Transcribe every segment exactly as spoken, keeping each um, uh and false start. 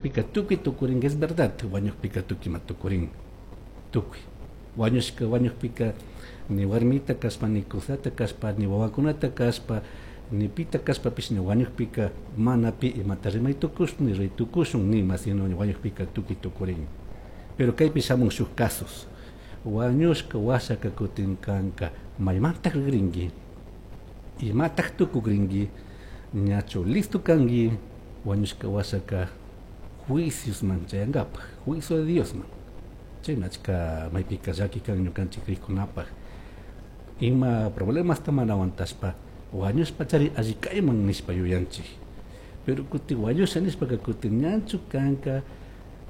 Wañukpika tukuy tukurin, es verdad, wañukpika tukuy tukurin, tukuy. Wañushka wañukpika ni warmita kashpa, ni kusata kashpa, ni wawakunata kashpa, ni pita kashpapish ni wañukpika mana pi imata rimay tukushun, ni ruray tukushun, ni ima, sino wañukpika tukuy tukurin. Pero kaypi shamun shuk casos. Wañushka washaka kutin kanka maymantak rigrinki, imatak tukukrinki, ñachu listo kanki wañushka washaka juiciosman chayankapaj, juicio de Diosman. Chaymi achka maypika llaki kan ñukanchik krikkunapaj. Ima problemasta mana aguantashpa wañushpa chari alli kayman nishpa yuyanchik. Pero kutin wañusha nishpaka kutin ñachu kanka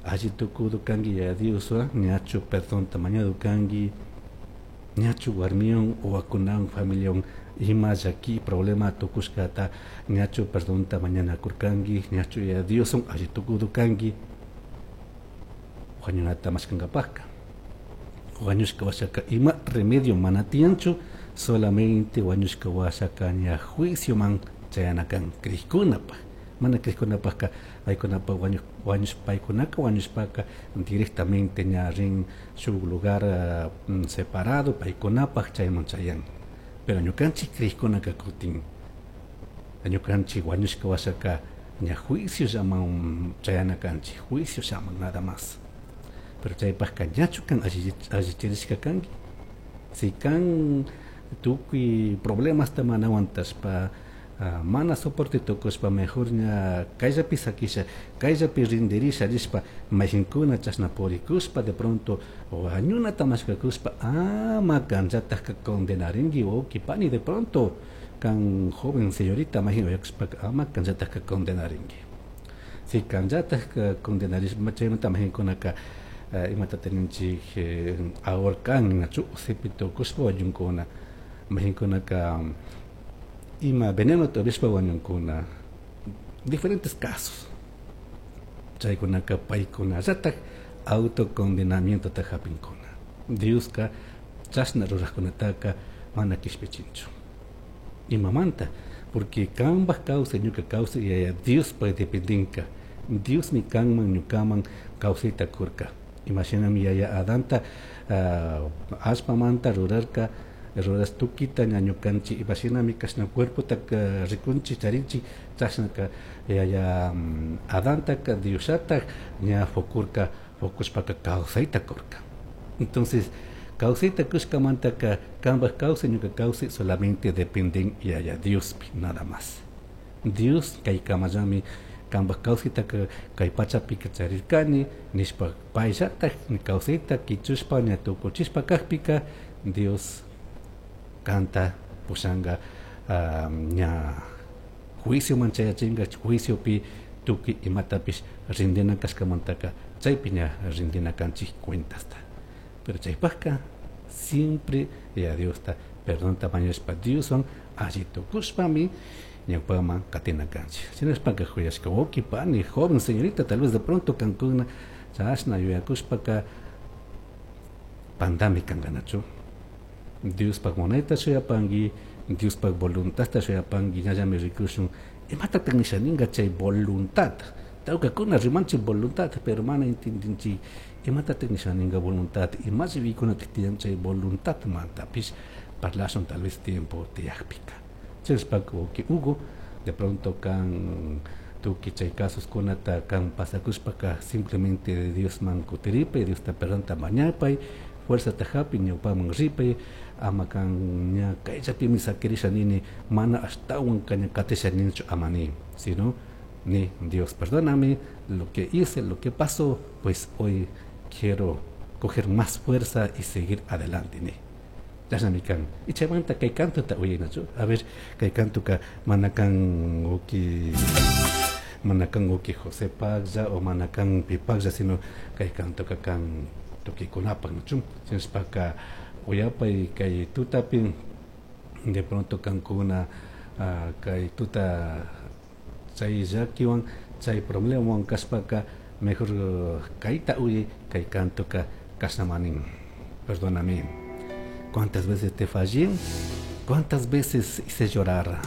alli tukudu kanki Yaya Dioswan, ñachu perdonta mañadu kanki, ñachu warmiwan wawakunawan familiawan ima llaki problema tukushkata ñachu perdonta mañanakurkanki, ñachu Yaya Dioswan alli tukudu kanki wañunata mashkankapajka. Wañushka washaka ima remedio mana tiyanchu, solamente wañushka washaka ña juicioman chayana kan krikkunapaj. Mana krikkunapajka paykunapaj wañush, wañush, paykunaka wañushpaka directamente ña rin shuk lugar, uh, separado paykunapaj chayman chayan. Pero ñukanchik krikkunaka kutin ñukanchik wañushka washaka ña juicio llaman chayana kanchik, juicio llaman nada más. Pero chaypajka ñachu kan allichirishka kanki. Si kan tukuy problemasta mana aguantashpa, uh, mana soporte tukushpa mejor ña kayllapi sakisha, kayllapi rindirisha nishpa mayqinkuna chashna purikushpa de pronto wañunata mashkakushpa ama kanllatajka condenarinki wawqi pani de pronto kan joven señorita mayqin uyakushpaka ama kanllatajka condenarinki. Si kanllatajka condenarishpa chaymanta mayqinkunaka uh, imata teninchik eh, ahorcan nachu sipi tukushpa wañunkuna, mayqinkunaka ima veneno tobishpa wañunkuna, diferentes casos. Chaykunaka paykunallataj autocondenamientota hapinkuna. Dioska chashna rurajkunataka mana kishpichinchu. Imamanta? Porque kanpaj kawsay ñuka kawsay Yaya Diospaj dependinka. Diosmi kanman ñukaman kawsayta kurka. Imashinami Yaya Adanta, uh, allpamanta rurarka, ruras tukita ña ñukanchik imashinami kashna cuerpota rikunchik charinchik chashnaka Yaya um, Adantaka Diosllatak ña fukurka, fukushpaka kawsayta kurka. Entonces kawsayta kushkamantaka kanpaj kawsay ñuka kawsay solamente dependen Yaya Diospi nada más. Dios kaykamallami kanpaj kawsaytaka kay pachapika charirkani nishpa payllatak kawsayta kichushpa ña tukuchishpa kajpika Dios kanta pushanka um, ña juicioman chayachinka, juiciopi tukuy imatapish rindina kashkamantaka chaypi ña rindina kanchik cuentasta. Pero chaypajka siempre Yaya Diosta perdonta mañashpa Dioswan alli tukushpami ñawpaman katina kanchik. Shinashpaka juyashka wawqi pani, joven señorita, tal vez de pronto kankuna chashna yuyakushpaka pandami kankanachu. Diospaj munayta shuyapanki, Diospaj voluntadta shuyapanki, ñallami rikushun imatataq nisha ninka chay voluntad. Tawkakuna rimanchik voluntad, pero mana entendinchik imatataq nisha ninka voluntad, imashi vikunataq tiyan chay voluntad mantapish parlashun tal vez tiempo tiyakpika. Chayshpaka wawqi Hugo, de pronto kan tukuy chay casos kunata kan pasakushpaka simplemente de Diosman kutiripay, Diosta perdonta mañapay, fuerzata hapi ñawpaman ripay, ama kan ña kayllapimi sakirisha nini mana ashtawan kaña katisha ninichu ama ni, sino ni Dios perdóname lo que hice, lo que pasó, pues hoy quiero coger más fuerza y seguir adelante ni. Chashnami kan. Y chaymanta kay kantota uyaynachu. A ver, kay kantuka mana kan uki mana kan uki José Paglla o mana kan pi Paglla, sino kay kantuka kan tukikunapaj nachu. Shinashpaka uyapay kay tutapi de pronto kankuna, uh, kay tuta chay llakiwan chay problemawan kashpaka mejor uh, kayta uyay kay kantuka kashnamanin. Perdóname. ¿Cuántas veces te fallé? ¿Cuántas veces hice llorar?